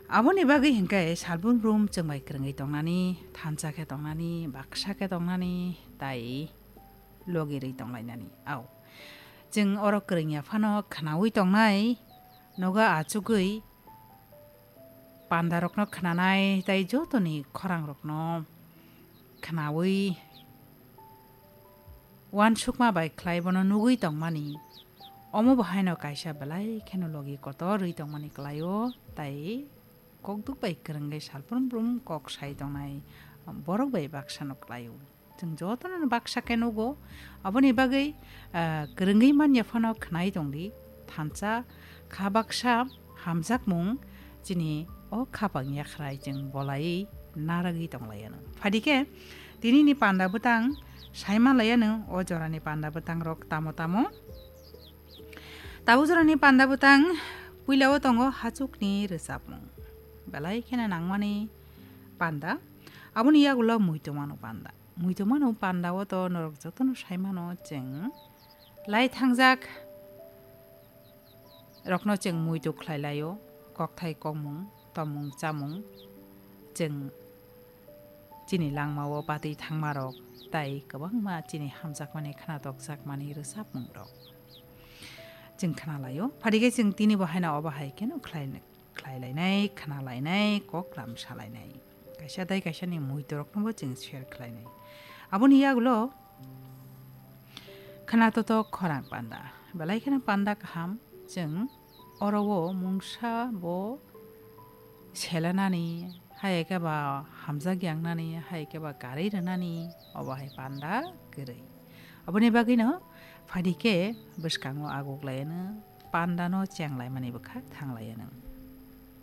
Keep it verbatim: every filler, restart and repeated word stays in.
Aboni bagwi hinkhe salbrum brum chwng bai kwrwngwi tongnani, thansa khe tongnani, baksa khe tongnani, tai logi rwi tonglainani. Au. Chwng oro kwrwngya phano khnaui tongnai, nogo achugwi pandarokno khnanai, tai jotoni khorangrokno khnaui uansukma bai khlai bono nugwi tongmani. Omo bo haino kaisa belai kheno logi kotor rwi tongmani kwlaio, tai kokduk bai kwrwngwi salbrum brum kok sai tongnai borok bai baksano kwlaio. Chwng jotono baksa khe nugo, aboni bagwi, ah, kwrwngwi manya phano khnai tongdi, thansa kha baksa hamjakmung chini o khapang yakhrai chwng bolaiwi naragwi tonglaiyano. Phadikhe tinini panda bwtang saima laiyano, o jorani panda bwtangrok tamo tamo. Tabuk jorani panda bwtang puilao tongo hachukni rwchapmung. Belai kheno nangmani panda. Aboni yagulo muitu mano panda. Muitu mano panda o to norok jotono sai mano chwng lai thangjak rokno chwng muitu khlai laio, kokthai kokmung, tomung chamung chwng chini langmao batwi thangmarok tai kwbangma chini hamjakmani khwnatokjakmani rwchapmungrok chwng khwnalaio. Phadikhe chwng tini bo haino obo hai kheno khlai, khlai lainai, khna lainai, kok lam sa lainai. Kaisa tai kaisani muitoroknobo chwng share khlainai. Aboni yagulo khwnatotok khorang panda. Belai kheno panda kaham chwng oro o mungsa bo selanani, hai khe ba hamjak yangnani, hai khe ba karwi rwnani, obo hai panda kwrwi. Aboni bagwino phadikhe bwskango aguklaiyano, pandano chenglaimani bwkha thanglaiyano.